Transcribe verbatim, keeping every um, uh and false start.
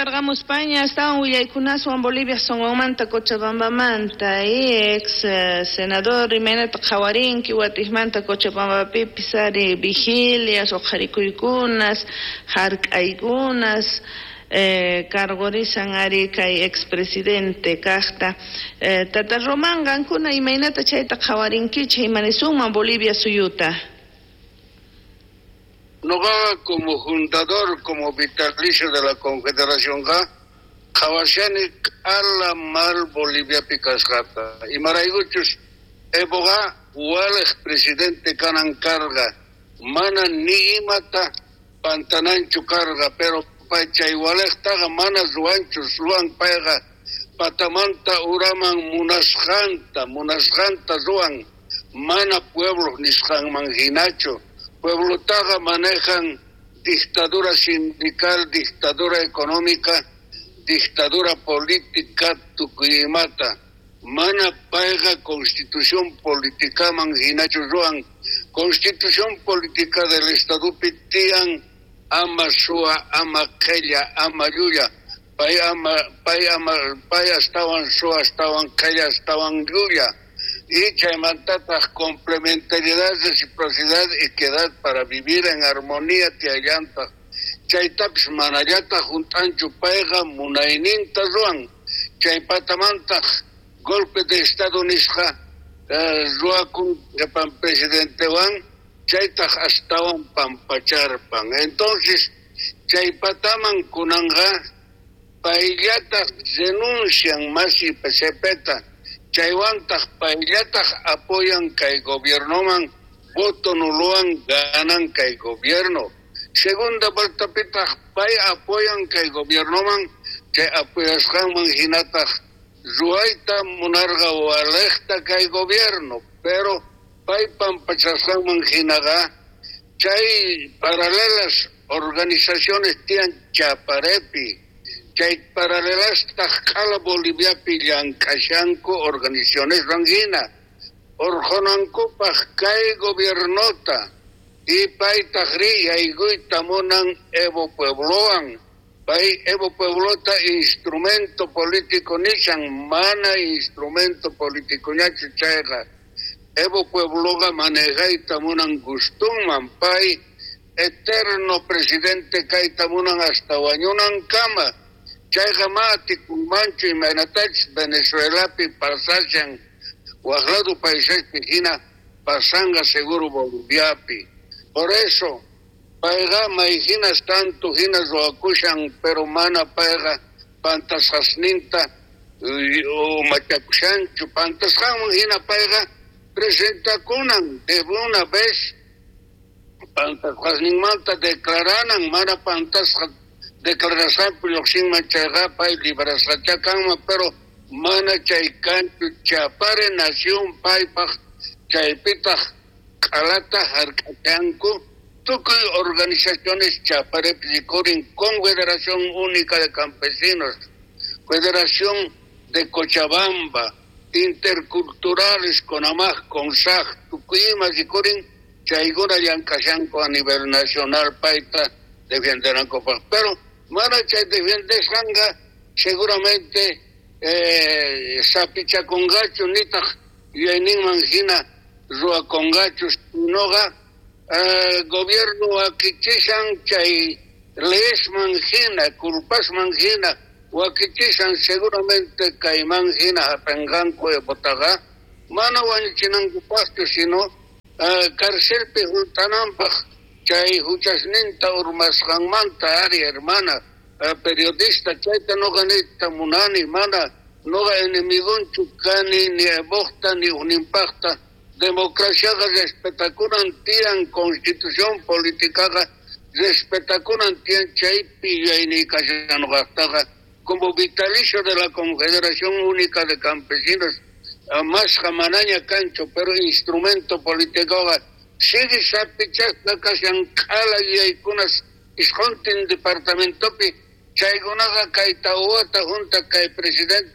Kutarqamuspaña astawan willaykunaswan Bolivia sonqonmanta Cochabambamanta ex eh, senador imaynata qhawarinki watiqmanta Cochabambapipis ari vigilias uqharikuykunas hark'aykunas eh, cargorisan ari kay expresidente kaqta eh, Tata Román qankuna imaynata chayta qhawarinkichik imanisunman Bolivia suyuta. Noqa como fundador, como vitalicio de la Confederación qhawashani q'ala mal Boliviapi kasqata. Imaraykuchus Evoqa waliq presidente kanan karqa mana ni imata pantananchu karqa, pero pay chay waliqtaqa mana ruwanchu, ruwan payqa patamanta uraman munasqanta, munasqanta ruwan, mana pueblo nisqanman hinachu. Pueblotaqa manejan dictadura sindical, dictadura económica, dictadura política tukuy imata. Mana payqa constitución politicaman hinachu ruwan. Constitución política del Estadopi tiyan ama suwa, ama qhella, ama llulla. Pay ama, pay ama, pay astawan suwa, astawan qhella, astawan llulla. Y chaymantataq complementariedad, reciprocidad, equidad para vivir en armonía tiyallantaq. Chaytapis manallataq hunt'anchu payqa munayninta ruwan. Chaypatamantaq golpe de Estado nisqa eh, ruwakun qhipan presidentewan chaytaq astawan pampacharpan. Entonces chaypataman kunanqa payllataq renuncian masi P C Pta. Chaywantaq payllataq apoyan kay gobiernoman voto nulowan ganan kay gobierno. Segunda vueltapitaq pay apoyan kay gobiernoman chay apoyasqanman hinataq ruwayta munarqa waliqta kay gobierno, pero pay pampachasqanman hinaqa chay paralelas organizaciones tiyan Chaparepi, chay paralelastaq q'ala Boliviapi llank'ashanku organizaciones hina urqunankupaq kay gobiernota y paytaq ri yaykuyta munan Evo pueblowan. Pay Evo pueblota instrumento político nishan, mana instrumento político ñachu chayqa. Evo puebloqa manejayta munan gustunman, pay eterno presidente kayta munan hasta wañunankama. Chayqa ma atikunmanchu imaynatachus Venezuelapi pasashan waq lado paisespi hina pasanqa seguro Boliviapi. Por eso payqa mayhinas tanto hina ruwakushan, pero mana payqa pantasqasninta umachakushanchu. Pantasqanman hina payqa presentakunan de una vez pantasqasninmanta declaranan, mana pantasqa declarasqanpi lluqsinman chayqa pay librasqachá kanman, pero mana chay kanchu. Chapare nación paypaq chaypitaq q'alata hark'achanku tukuy organizaciones Chaparepi rikurin: Confederación Única de Campesinos, Federación de Cochabamba, Interculturales, CONAMAQ, CONSAJ, tukuy ima rikurin chaykuna llank'ashanku a nivel nacional payta defendenankupaq, pero mana chay defendesqanqa seguramente eh, sapichakunqachu nitaq yuyayninman hina ruwakunqachu, sinoqa eh, gobierno wakichishan chay leyesman hina, culpasman hina wakichishan, seguramente kayman hina hap'inqanku Evotaqa mana wañuchinankupaqchu, sino uh, carcelpi hunt'ananpaq chay huchasninta urmasqanmanta. Ari, hermana uh, periodista, chayta noqa niyta munani, mana noqa enemigonchu kani ni Evoqta ni uninpaqta. Democraciaqa respetakunan tiyan, constitución politicaqa respetakunan tiyan, chaypi yuyayniy kashan noqaqtaqa como vitalicio de la Confederación Única de Campesinos. Masqa manaña kanchu, pero instrumento políticoqa sigue sapichasqa kashan q'ala yuyaykunas isquntin departamentopi chaykunaqa kay tawata junta kay presidente.